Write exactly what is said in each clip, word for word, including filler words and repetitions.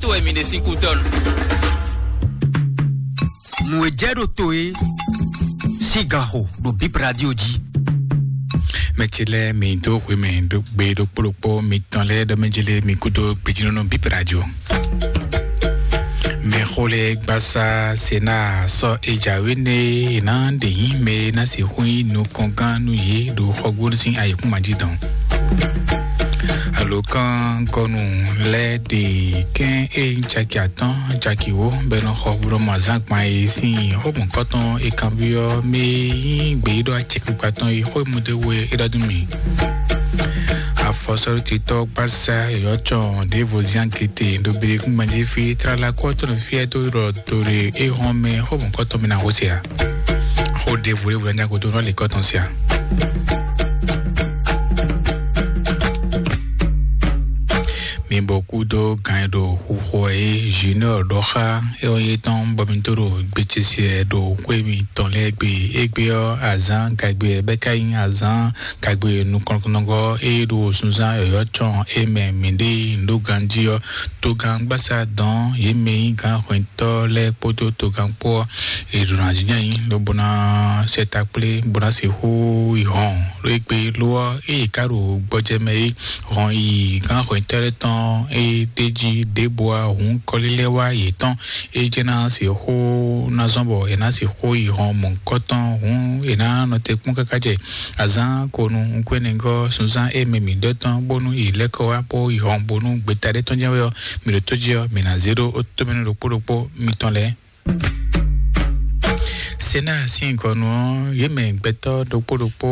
To wɛ mi ɖe sín kú tɔn. Nǔ e jɛ ɖo to e sín gan xo ɖo Bip Radio jí. Mɛ ce lɛ́ɛ mi dó hwe mɛ ɖó gbe ɖokpó ɖokpó mitɔn lɛ́ɛ ɖɔ mɛ ce lɛ́ɛ mi kúdó gbejínɔ́nɔ Bip Radio. Mɛ xó lɛ́ɛ gbasá Sena sɔ́ e jǎwe nɛ e ná ɖe nyí mɛ e ná sixú nyí nukɔngán nú yě ɖo xɔgbónu sín ayǐkúngban jí dɔn. Alǒkangɔnu lɛ́ɛ ɖe kɛ́n e nyí caki atɔ́ɔ́n, caki wǒ, bɔ è nɔ xɔ hwlɔ́mɔ azǎn gban e sín xó mɔ̌kɔtɔn e kanbyɔ́ mɛ e nyí gbeyíɖɔ acɛkpikpa tɔn e xó e mɔ ɖ'é wú é ɖɔ nú mì. Afɔsɔ́ɖótitɔ́ gbasá yɔ̌yɔ́ cɔn ɖěvo zán gete ɖo Belékúngban jí fí, tlala kú ɔ́ tɔn ɖo fí é dó ɖɔ do ɖe é hɔn mɛ xó mɔ̌kɔtɔn mɛ ná xó se ǎ. Xó ɖěvo ɖěvo ná nyá gúdo nú alikɔ́ tɔn se ǎ. Mi bɔ kú dó gan e ɖo xuxo ɛ é Junior ɖɔ xá é ɔ́ yé tɔn bɔ mi tó ɖo gbe ce se ɛ ɖo xwé mitɔn lɛ́ɛ gbe. Égbé ɔ́, azǎn gagbe ɛ bɛ́ ká nyí azǎn gagbe nukɔntɔngɔ́ é ɖo sunzán yɔ̌yɔ́ cɔn é mɛ mǐɖée nǔɖó ganjí ɔ́, togán gbasá dɔn yě mɛ nyí gǎn hwɛntɔ́ lɛ́ɛ kpódó togán kpó ɔ́, è ɖo ná jínjɔ́n nyi lobo ná sɛ takplé bó ná sixú yi hɔn ɖó égbé lo ɔ́, ée è ká ɖo gbɔjɛ mɛ é hɔn yi gǎn hwɛntɔ́ lɛ́ɛ tɔn é ɖ'é jí ɖěbǔ ǎ hǔn kɔlílɛ́ wá yětɔn é jɛ́n ná sixú ná zɔ́n bɔ è nǎ sixú yi hɔn mɔ̌hunkɔtɔn hǔn è nǎ nɔ te kpɔ́n káká jɛ azǎn ko nu nukúnnɛgɔ́ sunzán e mɛ mǐ ɖɔ tɔn bónú yi lɛ́ kɔ wá bó yi hɔn bónú gbeta ɖé tɔn jɛ́n wɛ ɔ́, mǐ ɖo tó jí ɔ́, mǐ ná zé ɖó ó tómɛnu ɖokpó ɖokpó mitɔn lɛ́ɛ. Sena sín gɔnu ɔ́, yě mɛ gbɛtɔ́ ɖokpó ɖokpó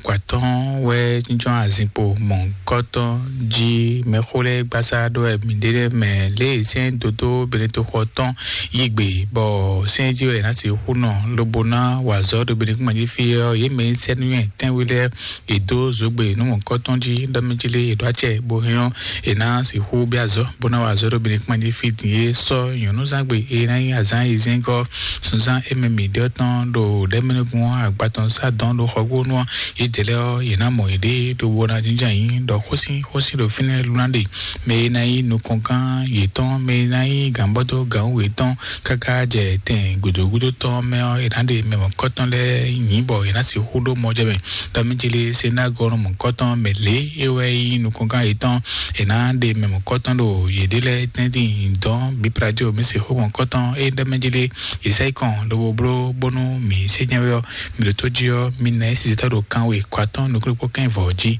kɔ atɔ́ɔ́n wɛ jínjɔ́n azinkpo mɔ̌hunkɔtɔn jí mɛxó lɛ́ɛ gbasá ɖó wɛ mǐ ɖe lɛ́ɛ mɛ lě e sɛ́n dodó Benetoxɔ tɔn yí gbe, bɔ sɛ́n jí wɛ è nǎ sixú nɔ lobo ná wa azɔ̌ ɖo Benekúngbɛ́n jí fí ɔ́, yě mɛ e nyí sɛ́núnywɛ́ tɛ́nwe lɛ́ɛ è dó zǒgbe nǔ mɔ̌hunkɔtɔn jí ɖɔ mɛ jí lé è ɖó acɛ bó hɛn ɔ́, è nǎ sixú bɛ́ azɔ̌ bó ná wa azɔ̌ ɖo Benekúngbɛ́n jí fí din e sɔ́ nyɔ̌núzán gbe e ná nyí azǎn e zɛ́n gɔ́ sunzán e mɛ mǐ ɖɔ tɔn ɖo ɖɛ̌mɛnúgbó ɔ́ agba tɔn sá dɔn ɖo xɔgbónú ɔ́, yědɛɛ lɛ́ɛ ɔ́, yě ná mɔ yěɖée ɖo bó ná jínjɔ́n ayǐ ɖɔ xósin xósin ɖo fínɛ́ lú ná ɖe. Mɛ e ná nyí nukɔngán yětɔn, mɛ e ná nyí gǎnbɔ́dó gǎnwú yětɔn káká jɛ tɛn gǔdo gúdo tɔn mɛ ɔ́, è nǎ ɖe mɛ mɔ̌kɔtɔn lɛ́ɛ nyǐ bɔ è nǎ sixú ɖó mɔjɛmɛ. Ɖɔ mǐ jlé se ná gɔ́ nú mɔ̌kɔtɔn mɛ lě e wɛ nyí nukɔngán yětɔn, è nǎ ɖe mɛ mɔ̌kɔtɔn ɖo yěɖée lɛ́ɛ tɛ́ntin dɔn bǐ plajo mǐ sixú mɔ̌kɔtɔn e ɖɔ mɛ jlé yě sɛ yi kɔn lobo bló bónú mǐ sé nyɛ wɛ ɔ́, mǐ ɖo tó jí ɔ́, mǐ ná yi sisɛtɔ́ ɖo kanwe kɔ atɔ́ɔ́n nukúnnú kpó kɛ́n vɔ̌ jí.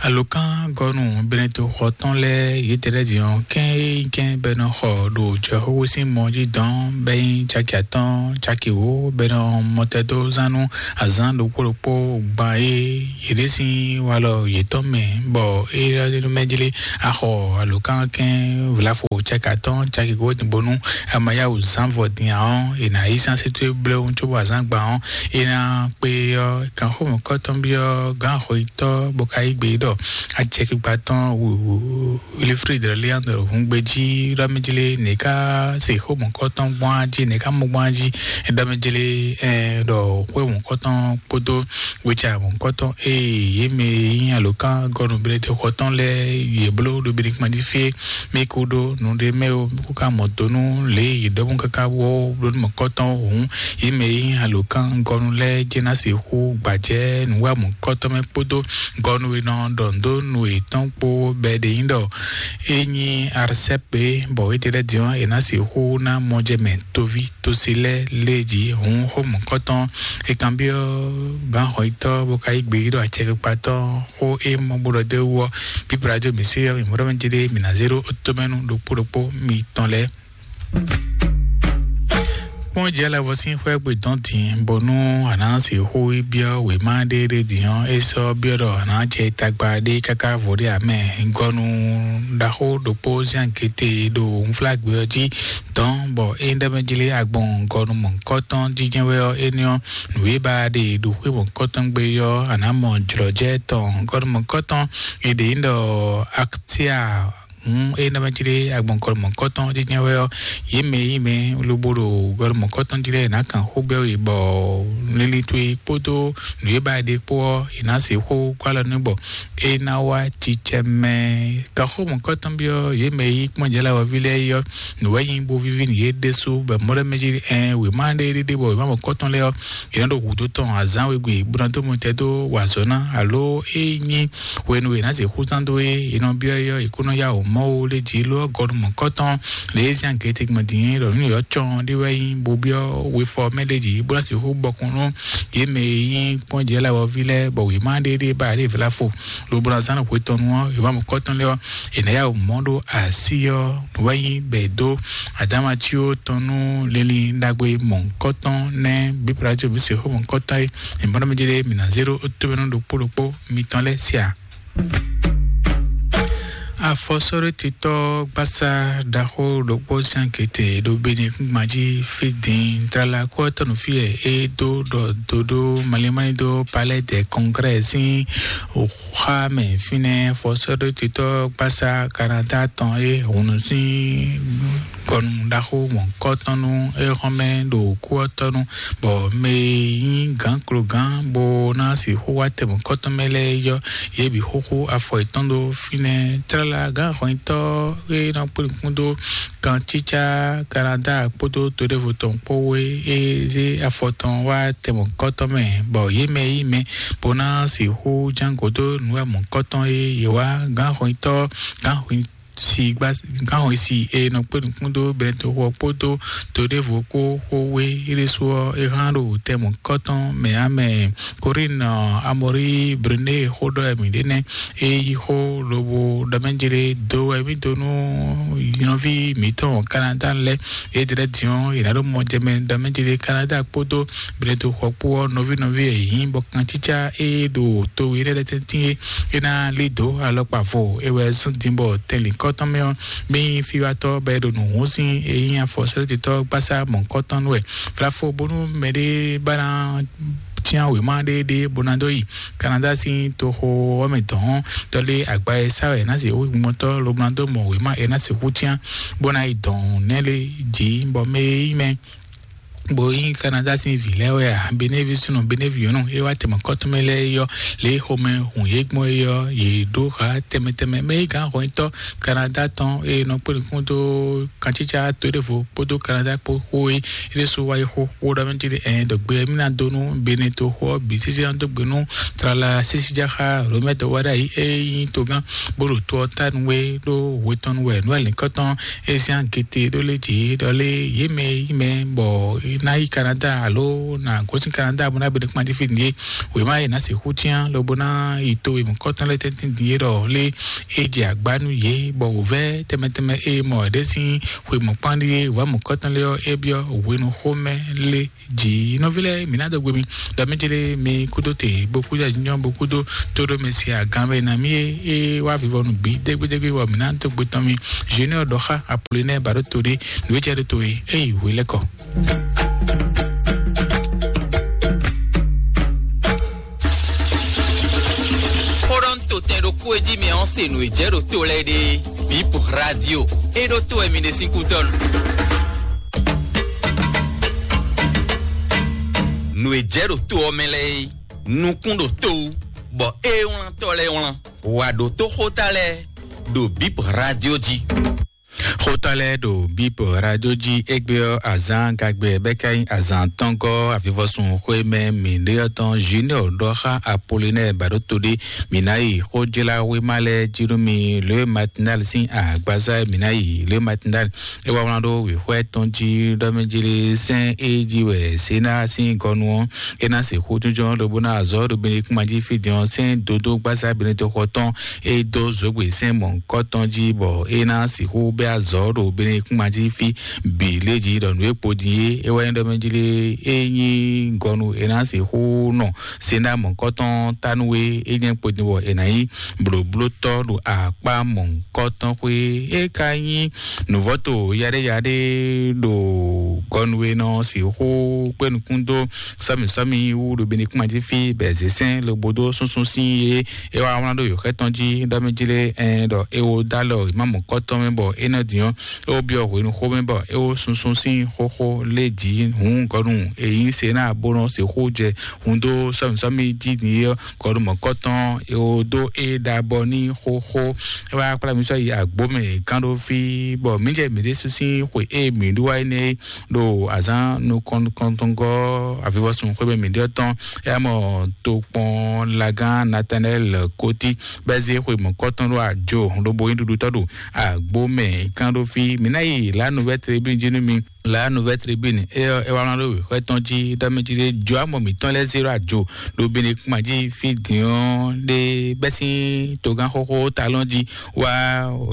Alǒkán gɔ́nú Benɛto xɔ tɔn lɛ́ɛ yětɛlɛ́ din ɔ́, kɛ́n e nyí kɛ́n bɔ è nɔ xɔ ɖo jɔxóxó sín mɔ jí dɔn bɔ é nyí caki atɔ́ɔ́n, caki wǒ, bɔ è nɔ mɔtɛdózán nú azǎn ɖokpó ɖokpó gban e yě ɖe sín walɔ yětɔn mɛ, bɔ é ɖɔ mɛ jlé axɔ alǒkánkɛ́n vlafo caki atɔ́ɔ́n, caki wǒ din bónú a ma yá wǔ zán vɔ din ǎ ɔ́, è nǎ yí sán sí towe bléwún cóbɔ azǎn gban ɔ́, é ná kpé ɔ́, gǎnxómɔkɔ́tɔn byɔ́ gǎn axɔyítɔ́ bó ka yí gbe ɖɔ acɛkpikpa tɔn Wilfrid Leandro hungbejí ɖɔ mɛ jlé nɛ̌ ká se xómɔkɔ́tɔn gbɔn á jí, nɛ̌ ká mɔ gbɔn á jí, ɖɔ mɛ jlé ɖɔ xwé mɔkɔ́tɔn kpódó wecamɔ kɔ́tɔn eye yě mɛ e nyí alǒkán gɔ́nú Benɛto xɔ tɔn lɛ́ɛ yě bló ɖo Benɛkúngbɛ́n jí fí é. Mí kú ɖó nǔɖé mɛ ó, mí kú ka mɔ do nú lě e yě ɖɔ mɔ káká wɔ bló nú mɔ̌kɔ́tɔn hǔn, yě mɛ e nyí alǒkán gɔ́nú lɛ́ɛ jɛ́n ná sixú gbajɛ nǔwamɔ̌kɔ́tɔn mɛ kpódó gɔ́nú e nɔ ɖɔ nǔ dó nú yětɔn kpó bɔ è ɖe nyí ɖɔ é nyí Arsɛ́p é, bɔ éɖée lɛ́ɛ din ɔ́, è nǎ sixú ná mɔjɛmɛ toví tosi lɛ́ɛ lé jí hǔn xó mɔ̌kɔ́tɔn. È kanbyɔ́ gǎnxɔyítɔ́ bó ka yí gbe ɖɔ acɛkpikpa tɔn xó e mɔ bó ɖɔ dó é wú ɔ́, bíbla jó mǐ sí ɔ́, mǐ mɔ ɖɔ mɛ jí ɖé mǐ ná zé ɖó tómɛnu ɖokpó ɖokpó mitɔn lɛ́ɛ. Kpɔ́n jɛ lɛ́ vɔ sín xwɛ gbe dɔn din bónú a nǎ sixú yi byɔ́ wěma ɖé ɖé din ɔ́, é sɔ́ byɔ́ ɖɔ a nǎ jɛ tagba ɖé káká vo ɖé amɛ. Gɔnu ɖaxó ɖokpó zán kété ɖo unflágbé ɔ́ jí dɔn bɔ é ɖɔ mɛ jlé agbɔn gɔnu mɔ̌kɔtɔn jínjɛ́n wɛ ɔ́, énɛ́ ɔ́, nǔ e ba ɖe ɖo xwé mɔ̌kɔtɔn gbe ɔ́, a nǎ mɔ jlɔ̌jɛ tɔn. Gɔnu mɔ̌kɔtɔn è ɖe nyí ɖɔ Aktia Hǔn ényí ɖɔ mɛ cí ɖé agbɔn gɔlɔmɔ̌kɔ́tɔn jínjɛ́n wɛ ɔ́, yě mɛ e nyí mɛ lobo ɖo gɔlɔmɔ̌kɔ́tɔn jí lɛ́ɛ, è nǎ kan xó gbɛ́ we, bɔ linlin towe kpódó nǔ e ba è ɖe kpó ɔ́, è nǎ sixú kó alɔ nú, bɔ é ná wá cicɛ mɛ. Kan xó mɔ̌kɔ́tɔn byɔ́ yě mɛ e nyí kpɔ́njɛ́lawɔví lɛ́ɛ é ɔ́, nǔ wɛ nyí bó víví nú yě ɖésú, bɔ mɔ̌ lɛ́ɛ mɛ jí ɛn wěma ɖé ɖéɖé, bɔ wěma mɔ̌kɔ́tɔn lɛ́ɛ ɔ́, è nɔ ɖo hǔdó tɔn azǎn wegbe bó ná dó mɔtɛn dó wa azɔ̌ ná, alo é nyí hwenu e è nǎ sixú zán dó é, è nɔ byɔ́ é ɔ́, è kó nɔ yá wǔ mɔ ó lé jí, ló ɔ́ gɔnu mɔ̌kɔ́tɔn lě e zán gěte gbɔn din é ɖɔ nǔ yɔ̌ cɔn ɖé wɛ nyí, bó byɔ́ wefɔ mɛ lé jí, bó ná sixú bɔkun nú yě mɛ e nyí kpɔ́njɛ́ lawɔví lɛ́ɛ, bɔ wěma ɖé ɖé ba ɖě vla fo, lobo ná zán hwe tɔn nu ɔ́, wěma mɔ̌kɔ́tɔn lɛ́ɛ ɔ́, è nǎ yá wǔ mɔ ɖó así ɔ́, nǔ wɛ nyí bɛ̌ dó Adama cí ó tɔn nú linlin ɖagbe mɔ̌kɔ́tɔn nɛ́ bí Plajɔ bí sixú mɔ̌kɔ́tɔn é. Mǐ bɔ́ nɔ mì jɛ ɖe mǐ ná zé ɖó tómɛnú ɖokpó ɖokpó mitɔn lɛ́ɛ sia. Afɔsɔ́ɖótitɔ́ gbásá ɖaxó ɖokpó sín akete ɖo Benekúngban jí fí din tlala kó ɔ́ tɔnu fí wɛ é dó ɖɔ dodó malimali dó Palais des Congrès sín xá mɛ fínɛ́. Afɔsɔ́ɖótitɔ́ gbásá Kanada tɔn é hǔn sín gɔnu ɖaxó mɔ̌kɔtɔn nú éhɔ́mɛ ɖo kú ɔ́ tɔ́ nu, bɔ mɛ e nyí gǎnklogán bó ná sixú wá tɛ mɔ̌kɔtɔn mɛ lɛ́ɛ yɔ́ yě bǐ xúxú afɔ yětɔn ɖó fínɛ́. Tlala gǎn hɔnyitɔ́ e nɔ kplé nukún dó kancícá Kanada kpódó to ɖěvo tɔn kpó é zé afɔ tɔn wá tɛ mɔ̌kɔtɔn mɛ, bɔ yě mɛ yí mɛ bó ná sixú ján gǒ dó nǔ e mɔ̌kɔtɔn e yě wá gǎn hɔnyitɔ́ gǎn hɔnyi si gba gánwun si e nɔ kpé nukún dó bɛntoxɔ kpódó to ɖěvo kpó xó wé ɖésú ɔ́, é hán ɖo tɛmɔ kɔ́tɔn mɛ ǎ mɛ. Korín Amɔrí Brune xó ɖɔ wɛ mǐ ɖe nɛ́, é yí xó lobo ɖɔ mɛ jlé dó wɛ mì dó nú nɔví mǐtɔn Kanada lɛ́ɛ. É ɖlɛ́ din ɔ́, è nǎ ɖo mɔ jɛ mɛ ɖɔ mɛ jlé Kanada kpódó bɛntoxɔ kpó ɔ́, nɔví nɔví e yǐ bɔ kancícá e ɖo to we lɛ́ɛ tɛ́ntin é, é ná lí dǒ alɔkpa vo. É wɛ zɔ́n din bɔ tɛnlǐnkɔ́tɔn mɛ ɔ́, mì nyí fiwatɔ́ bɔ é ɖo nǔ hún sín e nyí afɔsɛ́lɛ́tɔ́ gbásá mɔ̌hunkɔtɔn nú wɛ. Vlafo bónú mɛɖé ba ná cyán wěma ɖé ɖé bó ná dó yi Kanada sín toxo ɔ́ mɛ dɔ̌n, ɖɔlé agba e sá wɛ ná se wú gbɔntɔ́ lobo ná dó mɔ wěma e ná sixú cyán bó ná yi dɔ̌n nɛ́ lé jǐ, bɔ mɛ e nyí mɛ bó nyí Kanada sín vǐ lɛ́ɛ wɛ a, Benevi súnnu, Benevi nyɔ̌nu, é wá tɛmɔ kɔ́tɔn mɛ lɛ́ɛ é yɔ́, lě e xomɛ hun yě gbɔn é yɔ́, yě ɖó ha tɛmɛ tɛmɛ. Mɛ é gǎn hɔnyitɔ́ Kanada tɔn e nɔ kpé nukún dó kancícá to ɖěvo kpódó Kanada kpó xó é, é ɖésú wá yi xó xó ɖɔ mɛ jí ɖe ɛn ɖɔ gbe mí ná dó nú Bene toxo ɔ́ bǐ sísí ná dó gbe nú tlala sísí jáxá Romɛ dɔwɛɖa yi é nyí togán bó ɖo to ɔ́ ta nú we ɖó hwe tɔn nu wɛ nú alinkɔtɔn Ezian gete ɖó lé jǐ ɖɔ lé yě mɛ yí mɛ bɔ ná yi Kanada alo ná gosín Kanada bó ná bɛ́ kpán fí nìyé. Wěma e ná sixú cyán lobo ná yi to e mɔ̌kɔtɔn lɛ́ɛ tɛ́ntin din é ɖɔ lé é jɛ agbá nú yě, bɔ wǒvɛ́ tɛmɛ tɛmɛ e mɔ ɖě sín xwe mɔ̌kpán ɖíe wǎ mɔ̌kɔtɔn lɛ́ɛ ɔ́, é byɔ́ hwenu xomɛ lé jǐ. Nɔví lɛ́ɛ, mǐ ná dó gbe mi ɖɔ mí jlé mi kúdó te bó kúdó ajínjɔ́n bó kúdó tóɖó mɛ si agán mɛ ná mí é é wá vivɔnu bǐ dégbédégbé, bɔ mǐ ná dó gbe tɔn mi. Junior ɖɔ xá Apollinaire ba ɖó to ɖé nǔ e jɛ ɖó to e é yi hwe lɛ́ kɔ. Xó ɖɔ ń to tɛn ɖokpó e jí mɛ ɔ́ se nǔ e jɛ ɖo to lɛ́ɛ ɖe. Bip Radio, é ɖó to wɛ mi ɖe sín kúdɔ́nu. Nǔ e jɛ ɖo to ɔ́ mɛ lɛ́ɛ é, nukún ɖo to wú, bɔ é wlántɔ́ lɛ́ɛ wlán. Wǎ ɖótó xóta lɛ́ɛ ɖo Bip Radio jí. Xóta lɛ́ɛ ɖo Bip Radio jí égbé ɔ́, azǎn gagbɛ bɛ́ ká nyí azǎn tɔ́ngɔ́ avivɔsun xwé mɛ mǐɖé ɔ́ tɔn Junior ɖɔ xá Apollinaire ba ɖó to ɖé. Mǐ ná yi xójláwéma lɛ́ɛ jí nú mi, Le Matinal sín agbaza e mǐ ná yi Le Matinal. É wá wlán ɖó wěxwɛ́ tɔn jí ɖɔ mɛ jí lé sɛ́n é jí wɛ Sena sín gɔnu ɔ́, é ná sixú jínjɔ́n lobo ná azɔ̌ ɖo Benekúnma jí fí din ɔ́, sɛ́n dodó gbásá Benetoxɔ tɔn é dó zǒgbé sɛ́n mɔ̌hunkɔtɔn jí, bɔ é ná sixú bɛ́ azɔ̌ ɖo Benekúnma jí fí bǐ lé jí ɖɔ nǔ e kpo din é, é wɛ nyí ɖɔ mɛ jí lé é nyí gɔnu é ná sixú nɔ Sena mɔ̌hunkɔtɔn tánu e é nyɛ kpo din bɔ è nǎ nyí blǒblótɔ́ ɖo akpá mɔ̌hunkɔtɔn xwé. É ka nyí nǔvɔ́to yaɖéyaɖé ɖo Gɔnu e nɔ sixú kpé nukún dó sɔ́mì sɔ́mì wú ɖo Benekúma jí fí bɛ̌ zě sɛ́n lobo dó súnsún sín e é wá wlán ɖó yǒxɛ tɔn jí ɖɔ mɛ jí lé ɛn ɖɔ é wo dó alɔ ìmámù kɔ́tɔn mɛ bɔ é nɔ din ɔ́, é wo byɔ́ hwenu xó mɛ bɔ é wo súnsún sín xóxó lé jǐ hǔn gɔnu e nyí se ná bó nɔ sixú jɛ hun dó sɔ́mì sɔ́mì jí din é ɔ́, gɔnu mɔ̌kɔ́tɔn é wo dó é ɖa bɔ ní xóxó. É wá kplá mi sɔ́ yi agbǒ mɛ gán ɖó fí bɔ mǐ jɛ mǐ ɖésú sín xwe e mǐ ɖó wá énɛ́ ɖo azǎn nukɔntɔngɔ́ avivɔsun xwé mɛ mǐ ɖe ɔ́ tɔn. É mɔ tokpɔn lagán Natanɛl Koti bɛ́ zé xwe mɔ̌kɔtɔn ɖo ajo lobo nyí ɖuɖutɔ́ ɖo agbó mɛ kán ɖó fí. Mǐ ná yi la nouvelle tribune jí nú mi. La nouvelle tribune é ɔ́ é wá wlán ɖó wěxwɛ́ tɔn jí ɖɔ mɛ jí ɖé jɔ amɔ mǐtɔn lɛ́ɛ zé ɖo ajo ɖo Benekuma jí fí dǐn ɔ́ ɖé bɛ́ sín togán xóxó talɔn jí wá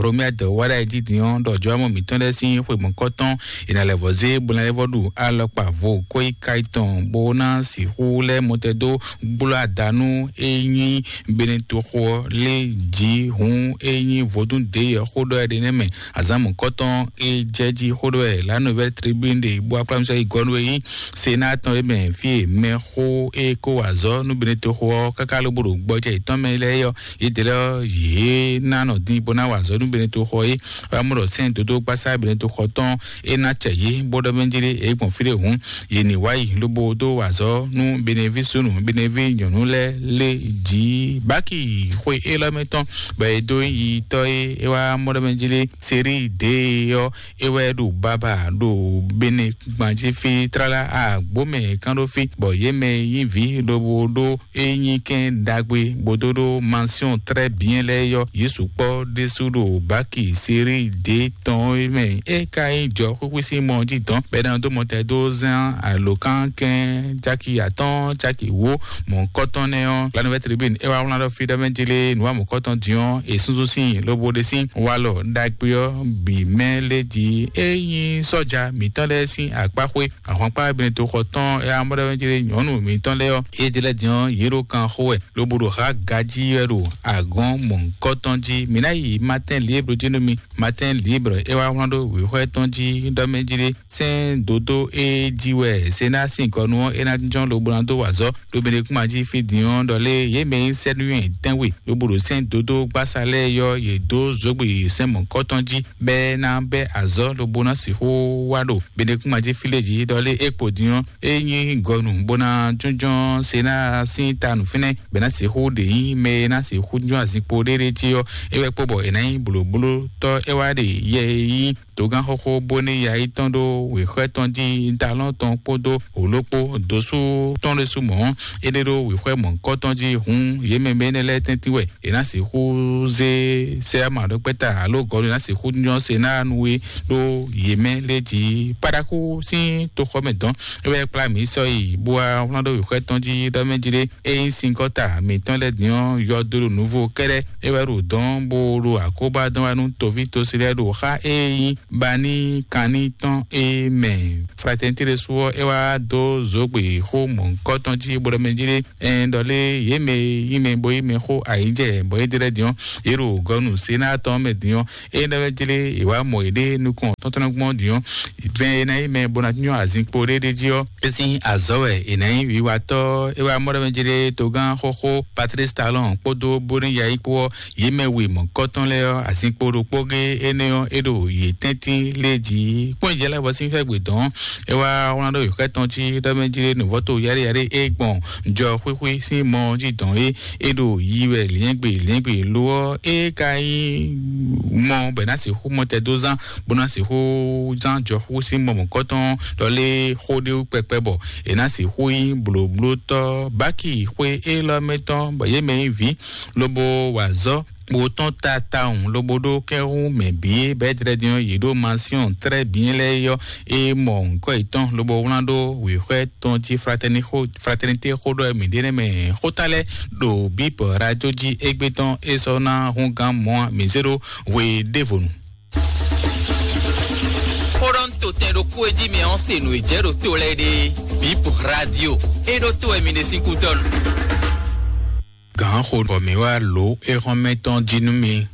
Romiad wá ɖo ayǐjínjɔ́n ɖɔ jɔwámɔ mǐtɔn lɛ́ɛ sín xwe mɔ̌kɔtɔn è nǎ lɛ́ vɔ́ zé bó ná lɛ́ vɔ́ ɖu alɔkpa vo kóyíká tɔn bó ná sixú lɛ́ mɔtɛn dó gbló ada nú é nyí Benetoxo ɔ́ lé jǐ hǔn é nyí vodún dě yɛ xó ɖɔ ɛ ɖé nɛ́ mɛ azǎn mɔ̌kɔtɔn é jɛ jí xó ɖɔ ɛ La Nouvelle Tribune ɖe bó akplámúsá yi gɔ́ nú é nyí Sénat tɔn é mɛ fí e mɛxó é kó wa azɔ̌ nú Benetoxo ɔ́ káká lobo ɖo gbɔjɛ yětɔn mɛ lɛ́ɛ ɔ́, yědɛ́ lɛ́ɛ ɔ́, yě ná nɔ din bó ná wa azɔ̌ nú Benetoxo é. Wá mɔ ɖɔ sɛ́n dodó gbasá Benetoxo tɔn é ná cɛ yě bó ɖɔ mɛ jí lé é gbɔn fí ɖé hǔn, yě ní wá yi lobo dó wa azɔ̌ nú Beneví súnnu, Beneví nyɔ̌nu lɛ́ɛ lé jǐ. Báki xwe élɔ́ mɛ tɔn bɔ è dó yi tɔ́ é é wá mɔ ɖɔ mɛ jí lé Seríi dě ɔ́, é wɛ ɖo baba ɖo Bene gbǎn jí fí tlala agbǒ mɛ kán ɖó fí, bɔ yě mɛ nyí vǐ lobo ɖó é nyí kɛn ɖagbe bó dó ɖó mansiɔn trɛ́ byɛ́n lɛ́ɛ yɔ́. Yě sukpɔ́ ɖésú ɖo báki Seríi dě tɔn é mɛ. É ka nyí jɔ xwíxwí sín mɔ jí dɔn bɔ é ná dó mɔtɛn dó zán alǒkankɛn caki atɔ́ɔ́n caki wǒ mɔ̌kɔtɔn nɛ́ ɔ́, La Nouvelle Tribune é wá wlán ɖɔ fí ɖɔ mɛ jí lé nǔ wa mɔ̌kɔtɔn din ɔ́, è súnsún sín lobo ɖe sín walɔ ɖagbe ɔ́ bǐ mɛ lé jí. É nyí sɔ́ja mǐtɔn lɛ́ɛ sín akpáxwé ahwankpá Benetoxo tɔn é amɔ́ɖɔmɛjlé nyɔ̌nu mǐtɔn lɛ́ɛ ɔ́, yě ɖe lɛ́ɛ din ɔ́, yě ɖo kan xo wɛ lobo ɖo há gají wɛ ɖo agɔ̌n mɔ̌hunkɔtɔn jí. Mǐ ná yi Matin Libre jí nú mi. Matin Libre é wá wlán ɖó wěxwɛ́ tɔn jí ɖɔ mɛ jí ɖé sɛ́n dodó é jí wɛ Sénat sín gɔnu ɔ́ é ná jínjɔ́n lobo ná dó wa azɔ̌ ɖo Benekuma jí fí din ɔ́ ɖɔ lé yě mɛ e nyí sɛ́núnyɛ tɛ́nwe lobo ɖo sɛ́n dodó gbásá lɛ́ɛ yɔ́ yě dó zǒgbe sɛ́n mɔ̌kɔtɔn jí bɛ́ ná bɛ́ azɔ̌ lobo ná sixú wá ɖo Benekuma jí fí lě jí ɖɔ lé é kpo din ɔ́, é nyí gɔnu bó ná jínjɔ́n Sénat sín ta nǔ fínɛ́ bɛ́ ná sixú ɖe nyí mɛ e ná sixú jínjɔ́n azinkpo ɖéɖé jí ɔ́, é wɛ kpo bɔ è nǎ nyí blǒblótɔ́ é wá ɖe yɛ e nyí dǒgán xóxó bó ní ya yi tɔn ɖó wěxwɛ́ tɔn jí dalɔn tɔn kpódó wǒló kpó dǒsú tɔn ɖésú mɔ̌. É ɖe ɖó wěxwɛ́ mɔ̌hunkɔtɔn jí hǔn yě mɛ mɛ énɛ́ lɛ́ɛ tɛ́ntin wɛ è nǎ sixú zé sɛ́ma ɖɔkpɛ́ta alo gɔ̌ ɖo ná sixú nyɔ́ se ná nu é ɖó yě mɛ lé jí. Paɖaxú sín toxɔ mɛ dɔn é wɛ kplá mǐ sɔ́ yi bó wá wlán ɖó wěxwɛ́ tɔn jí ɖɔ mɛ jí ɖé é nyí sinkɔ́ta mǐtɔn lɛ́ɛ din ɔ́ yɔdo ɖo nuvo kɛ́ɖɛ́ é wɛ ɖo dɔn bó ɖo akóbá dɔn wá nú toví tosi lɛ́ɛ ɖo xá é nyí baní kanní tɔn é mɛ. Fratɛnití ɖésú ɔ́ é wá dó zǒgbe xó mɔ̌hunkɔtɔn jí bó ɖɔ mɛ jí ɖé ɛn ɖɔ lé yě mɛ e nyí mɛ bo yí mɛ xó ayǐjɛ bɔ yě ɖe lɛ́ɛ din ɔ́, yě ɖo gɔnu Sénat tɔn mɛ din ɔ́, é ɖɔ wɛ jlé è wá mɔ yěɖée nukɔn tɔ́ntɔ́nɔgbɔn din ɔ́, vɛn e ná nyí mɛ bó ná nyɔ́ azinkpo ɖé ɖé jí ɔ́, é sín azɔ̌ wɛ è nǎ nyí wiwatɔ́. É wá mɔ ɖɔ mɛ jlé togán xóxó Patrice Talon kpódó Bóníyayi kpó ɔ́, yě mɛ we mɔ̌kɔtɔn lɛ́ɛ ɔ́, azinkpo ɖokpó gé énɛ́ ɔ́, é ɖo yě tɛ́ntin lé jí. Kpɔ́n ìjẹ́ lɛ́ɛ vɔ sín xɛ́gbe dɔn, é wá wlán ɖó yǒxɛ tɔn jí ɖɔ mɛ jlé nǔvɔ́to yaɖé yaɖé é gbɔn jɔ xwíxwí sín mɔ jí dɔn é, é ɖo yi wɛ lǐɛ́ngbè lǐɛ́ngbè lo ɔ́, é ka nyí mɔ bɔ è nǎ sixú mɔ tɛ dó zán, bó ná sixú zán jɔxú sín mɔ mɔ̌kɔtɔn ɖɔ lé xó ɖé wú kpɛkpɛ bɔ è nǎ sixú nyí blǒblótɔ́. Báki xwe élɔ́ mɛ tɔn bɔ yě mɛ nyí vǐ, lobo wa azɔ̌ bó tɔ́n ta tawun lobo ɖó kɛ́hún mɛ bǐ bɛ́ jlɛ́ din ɔ́, yě ɖó masiɔn trɛ́ bǐ lɛ́ɛ yɔ́ é mɔ nǔkɔ yětɔn lobo wlán ɖó wěxwɛ́ tɔn jí fratɛnité xó ɖɔ mǐ ɖe nɛ́ mɛ xóta lɛ́ɛ ɖo bíbɔ radio jí égbé tɔn é sɔ́ ná hún gán mɔ̌ a mǐ zé ɖó hwe ɖěvo nu. Xó ɖɔ un to tɛn ɖokpó e jí mi ɔ́ se nǔ e jɛ ɖo to lɛ́ɛ ɖe bíbɔ radio é ɖó to wɛ mi ɖe sín kútɔ́ nu. Gǎn xo bɔ mǐ wá lǒ éxɔ́mɛ tɔn jí nú mi.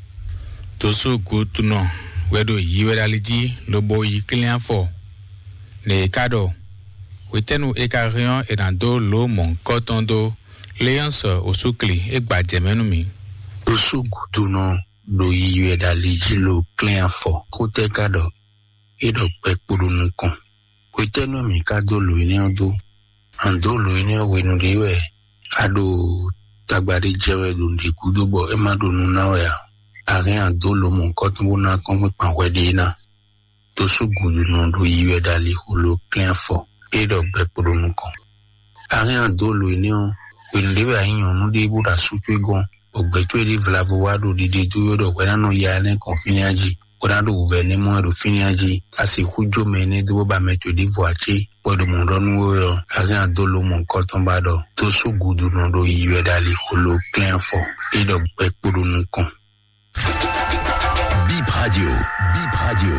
Dǒsú gutunɔ wɛ ɖo yi wɛ ɖo ali jí lobo yi klín afɔ. Nɛ e ka ɖɔ, hwetɛ́nu e ka hɛn ɔ́, è nǎ dó lǒ mɔ̌hunkɔtɔn dó Léɔ́nsɔ Osúkli, é gba jɛ mɛ nú mì. Ɖo sú gúdunɔ ɖo yiyi wɛ ɖo ali jí lo klɛ́n afɔ. Xó tɛ́ ka ɖɔ é ɖɔ gbɛ kpo ɖo nukɔn? Hwetɛ́nu mǐ ka dó lǒ énɛ́ ɔ́ dó? A dǒ lǒ énɛ́ ɔ́ hwenu ɖé wɛ a ɖo tagba ɖé jɛ wɛ ɖo nǔɖé gúdo bɔ é ma ɖo nu ná wɛ ǎ? A hɛn a dǒ lǒ mɔ̌hunkɔtɔn bó ná kɔ́nkpɔ́n kpan hwɛ ɖé ná? Dó sú gǔdo nɔ ɖo yi wɛ ɖo alixo lo klɛ́n afɔ, é ɖɔ gbɛ kpo ɖo nukɔn. A hɛn a dǒ lǒ énɛ́ ɔ́, hwenu ɖé wɛ a nyí nyɔ̌nu ɖé bó ɖo asú towe gɔ́n, bɔ gbɛ̌ towe ɖé vlavo wá ɖo ɖiɖe dó wɛ ɖɔ hwɛ ná nɔ ya énɛ́ kɔn fínɛ́ jí, bó ná ɖo wǔvɛ́ énɛ́ mɔ wɛ ɖo fínɛ́ jí, a sixú jó mɛ énɛ́ dó bó ba mɛ towe ɖěvo ǎ cé? Bɔ è ɖo mɔ̌ ɖɔ nú we ɔ́, a hɛn a dǒ lǒ mɔ̌hunkɔtɔn ba ɖɔ dó sú gǔdo nɔ ɖo yi wɛ ɖo alixo lo klɛ́n afɔ, é ɖɔ gbɛ kpo ɖo nukɔn. Bip Radio, Bip Radio.